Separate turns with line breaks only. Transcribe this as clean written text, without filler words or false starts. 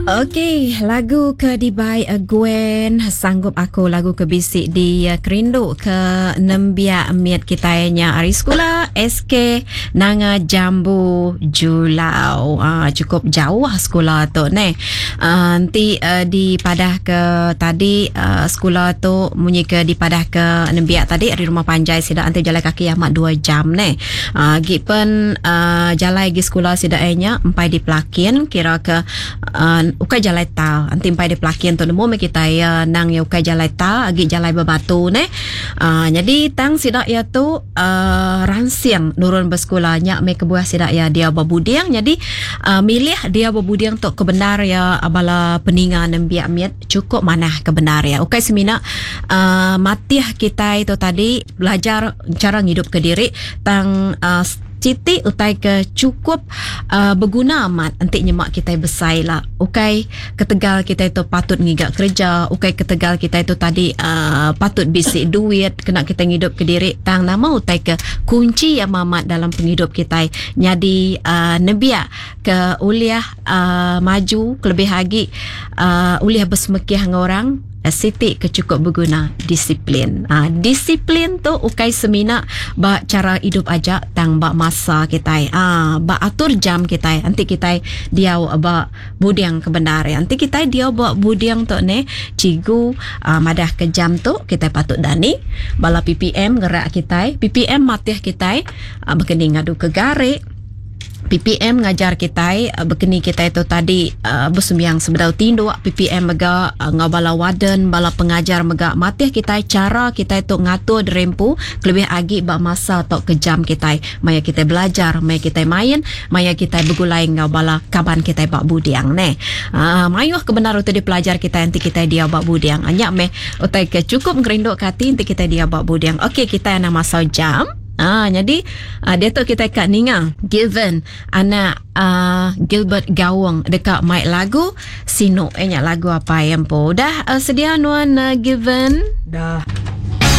Okey, lagu ke dibai Gwen sanggup aku lagu ke bisi di kerindu ke nembiak mit kitai nya ari sekula SK Nanga Jambu Julau. Ah cukup jauh sekula tu neh. Ah enti dipadah ke tadi sekula tu munyi ke dipadah ke nembiak tadi ari rumah panjai sida enti bejalai kaki amat dua jam neh. Ah agi pen ah jalai agi sekula sida iya nya empai dipelakin kira ke Ukai jalai tar enti empai deh pelakin tu nemu meh kitai iya nang iya ukai jalai tar agi jalai bebatu neh uhh nyadi tang sida iya tu uhh ransing nurun besekula nya meh kebuah sida iya diau ba buding nyadi uhh milih diau ba buding tu ke bendar iya bala peninga nembiak mit chukup manah ke bendar iya ukai semina uhh matih kitai tu tadi belajar chara ngidup kediri tang uhh Siti utai ke chukup beguna amat enti nyema kitai besai ila. Ukai ketegal kitai tu patut ngiga kereja, ukai ketegal kitai tu tadi uhh patut bisi duit kena kitai ngidup kediri tang nama utai ke kunchi amat amat dalam pengidup kitai nyadi uhh nembiak ke ulih uhh maju kelebih agi uhh ulih besemekih enggau orang. Siti ke chukup beguna, disiplin. Disiplin tu ukai semina ba chara idup aja tang ba masa kitai. Ba atur jam kitai enti kitai diau ba buding ke bendar iya. Enti kitai diau ba buding tu neh, cikgu madah ke jam tu kitai patut dani. Bala PPM ngerak kitai, PPM matih kitai baka ni ngadu ke gari. PPM ngajar kitai bekeni kitai tu tadi besembiang sebedau tinduk. PPM mega enggau bala warden, bala pengajar mega matih kitai chara kitai tu ngatur diri empu kelebih agi ba masa tauka jam kitai maya kitai belajar, maya kitai main, maya kitai begulai enggau bala kaban kitai ba buding neh. Aaa mayuh ke bendar utai dipelajar kitai enti kitai diau ba buding. Nya meh utai ke chukup ngerinduka ati enti kitai diau ba buding. Okey kitai anang masau jam. Ah nyadi diatu kitai ka ninga Gilvan anak uh, Gilbert Gaung deka mai lagu Sinu eh nya lagu apai empu. Udah uh, sedia nuan uh, Gilvan?
Dah.